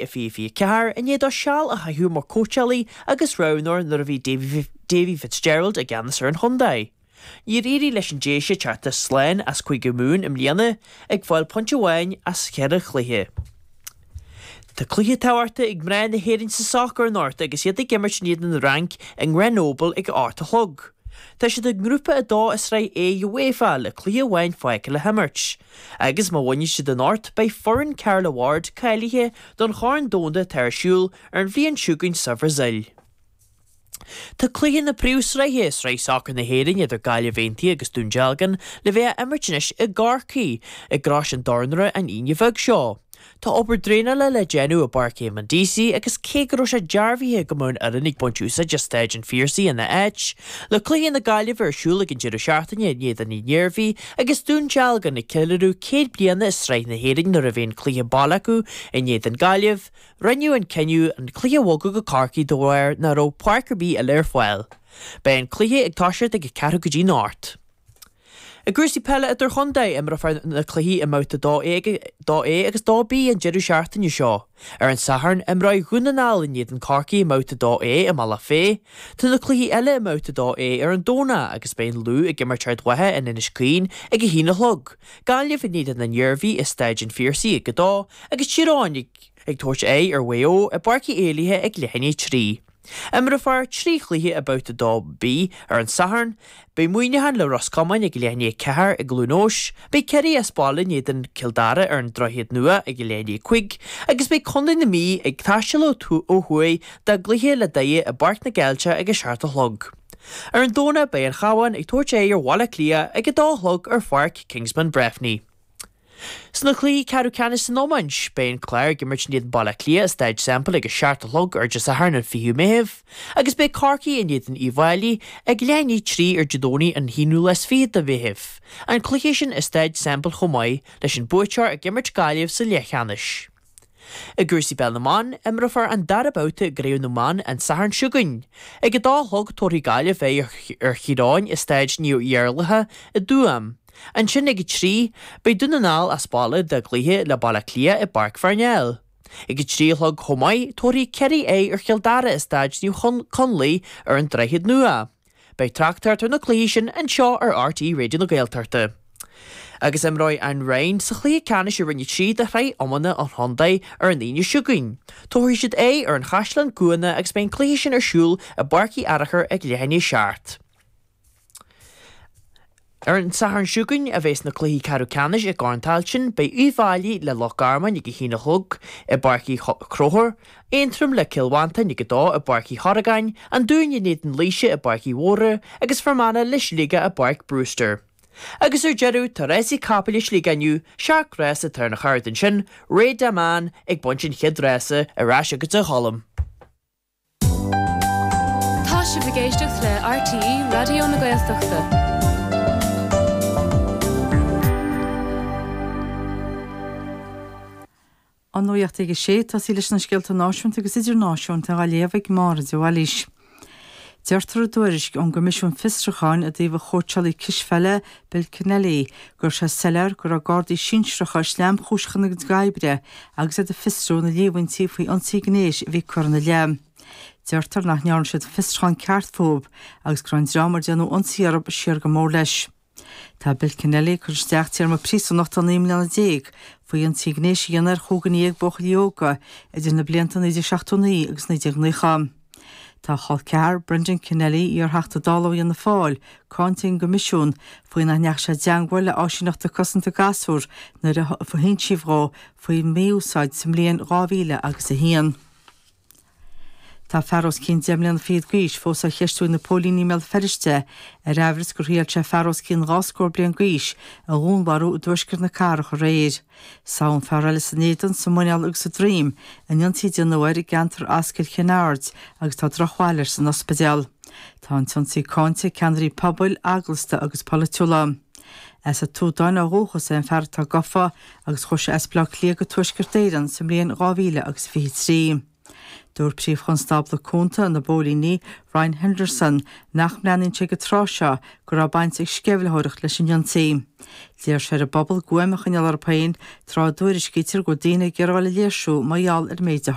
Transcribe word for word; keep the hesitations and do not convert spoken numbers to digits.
i fiche fiche ceathair i ndiaidh dó seal a chaitheamh mar chóitseálaí agus roghnóir nuair a bhí Davy Fitzgerald i gceannas ar an chontae. Níor éirigh leis an Déise teacht slán as Cúige Mumhan i mbliana, ag fáil pointe amháin as cheithre chluiche. Tá cluiche tábhachtach ag mná na hÉireann sa sacar anocht agus iad ag imirt in éadan na Fhraince i nGrenoble ag a hocht a chlog. Tá siad i nGrúpa a dó i Sraith A UEFA le cluiche amháin fágtha le himirt. Agus má bhuann siad anocht beidh foireann Carla Ward cáilithe don Chorn Domhanda atá ar siúl ar an bhliain seo chugainn sa Bhrasaíl. Tá cluiche na Príomhshraithe, Sraith Sacair na hÉireann idir Gaillimh Aontaithe agus Dún Dealgan, le bheith á imirt anois i gCorcaigh, i gCrois an Dornára an Aoine bheag seo. Tá obair draenála le déanamh i bPáirc Eamonn Deacy agus cé go raibh sé dearbhaithe go mbeadh an fhoireann ag baint úsáid as Staid an Phiarsaigh ina áit, le cluiche na Gaillimhe ar siúl ag an deireadh seachtaine in éadan na hIarmhí agus Dún Dealgan ag ceiliúradh céad bliana i Sraith na hÉireann nuair a bheidh an cluiche baile acu in éadan Gaillimh, Rinneadh an cinneadh an cluiche a bhogadh go Corcaigh de bharr nach raibh páirc ar bith eile ar fáil. Beidh an cluiche ag toiseacht ag a ceathrú go dtí an hocht. I gcúrsaí peile idirchontae, imreofar na cluichí i mBabhta dó A agus dó B an deireadh seachtaine seo. Ar an Satharn, imreoidh Dhún na nGall in éadan Chorcaí i mBabhta dó A i mBealach Féich. Tá na cluichí eile i mBabhta dó A ar an Domhnach agus beidh an Lú ag imirt Ard Mhacha in Inis Caoin ag a haon a chlog, Gaillimh in éadan an Iarmhí i Staid an Phiarsaigh ag a dó agus Tír Eoghain ag ag tabhairt aghaidh ar Mhaigh Eo i bPáirc Uí Éilithe ag leath i ndiaidh a trí. Imreofar trí chluiche i mBabhta dó B ar an Satharn. Beidh Muineachán le Ros Comáin ag leath i ndiaidh a ceathair i gCluain Eois, beidh Ciarraí as baile in éadan Cill Dara ar an Droichead Nua ag leath i ndiaidh a cúig agus beidh Contae na Mí ag taisteal ó thuaidh dá gcluiche le Doire i bPáirc na gCeilteach ag a seacht a chlog. Ar an Domhnach beidh an Cabhán ag tabhairt aghaidh ar Bhaile Átha Cliath ag a dó a chlog ar Pháirc Kingspan Breffni. Sna cluichí ceathrú ceannais san iomáint, beidh an Clár ag imirt in éadan Baile Átha Cliath i Staid Semple ag a seacht a chlog ar Dé Sathairn an fichiú Meitheamh agus beidh Corcaigh in éadan Uíbh Fhailí ag leath i ndiaidh a trí ar Dé Domhnaigh an haonú lá is fiche de Mheitheamh, an cluiche sin i Staid Semple chomh maith, leis an buaiteoir ag imirt Gaillimh sa leathcheannais. I gcúrsaí peil na mban, imreofar an dara babhta i gCraobh na mBan an Satharn seo chugainn. Ag a dó a chlog tabharfaidh Gaillimh aghaidh ar Thír Eoghain i Staid Naomh Iarlaithe i dTuaim. Ansin ag a trí, beidh Dún na nGall as baile dá gcluiche le Baile Átha Cliath i bPáirc Pharnell. Ag a trí a chlog chomh maith, tabharfaidh Ciarraí aghaidh ar Chill Dara i Staid Naomh Conlaith ar an Droichead Nua. Beidh tráchtaireacht ar na cluichí sin anseo ar RTÉ Raidió na Gaeltachta. Agus imreoidh an Rinn sa chluiche ceannais i Roinn a trí de Shraith Iomána an Chontae ar an Aoine seo chugainn. Tabharfaidh siad aghaidh ar an Chaisleán Cuanna agus beidh an cluiche sin ar siúl i bPáirc Uí Fhearachair ag leath i ndiaidh a seacht. Ar an Satharn seo chugainn a bheas na cluichí ceathrú ceannais i gCorn Tailteann, beidh Uíbh Fhailí le Loch Garman ag a haon a chlog i bPáirc Uí Chonchúir, Aontroim le Cill Mhantáin ag a dó i bPáirc Uí Chorragáin, An Dún in éadan Laoise i bPáirc Uí Mhórdha agus Fear Manach le Sligeach i bPáirc Brewster. Agus ar deireadh, tá rásaí capaill i Sligeach inniu, seacht rása atá ar an chárta ansin, Rey Dau ag baint an chéad rása, ar ais agatsa a Cholm. Tá sibh ag éisteacht le RTÉ Raidió na Gaeltachta. An nuacht ag a sé, tosaí leis na scéalta náisiúnta agus idirnáisiúnta á léamh ag Máire de Bhailís. Deirtear i dtuairisc ón gCoimisiún Fiosrúcháin i dtaobh an chóitseálaí cispheile Bill Kennelly go raibh sé soiléir go raibh gardaí sinsearacha sleamchúiseach ina gcuid oibre agus iad ag fiosrú na líomhaintí faoi ionsaí gnéis a bhí curtha ina leith. Deirtear nach ndearna siad fiosrúchán ceart fúthu agus go raibh an dream ar déanadh ionsaí orthu siar go mór leis. Tá Bill Kennelly ag cur isteach téarma príosúnachta naoi mbliana déag faoi ionsaí gnéis a dhéanamh ar chúigear déag buachaillí óga idir na blianta naoi déag seachtó naoi agus naoi déag nócha. Tá a chol ceathar, Brendan Kennelly, iar-Theachta Dála ó Fhianna Fáil, cáinte ag an gCoimisiún faoi nach ndeachaigh sé i dteangmháil le áisíneachta cosanta gasúr nuair a hinsíodh dhó faoin mí-úsáid sa mbliain dhá mhíle agus a haon. Tá fear os cionn deich mbliana fichead d'aois fós á cheistiú ag na póilíní i mBéal Feirste ar aimhreas gur thriail sé fear os cionn dhá scór bliain d'aois a dhúnmharú i dtuaisceart na cathrach aréir. Sádh an fear eile san éadan, sa muineál agus sa droim in ionsaí a déanadh air i gceantar Ascaill Chinn Aird agus tá drochbhail air san ospidéal. Tá an t-ionsaí cáinte ag ceannairí pobail, eaglasta agus polaitiúla. As an tSúdáin ó dhúchas é an fear atá gafa agus chuaigh sé as Baile Átha Cliath go Tuaisceart Éireann sa mbliain dhá mhíle agus fiche trí. Dúirt Príomh-Chonstábla Cúnta na bPóilíní Ryan Henderson nach mbreathnaíonn sé go tráth seo go raibh baint ag sceimhlitheoireacht leis an ionsaí. D'iarr sé ar an bpobal guaim a choinneáil orthu féin tráth a dtuairiscítear go bhfuil daoine ag iarraidh a léirsiú mar gheall ar an méid a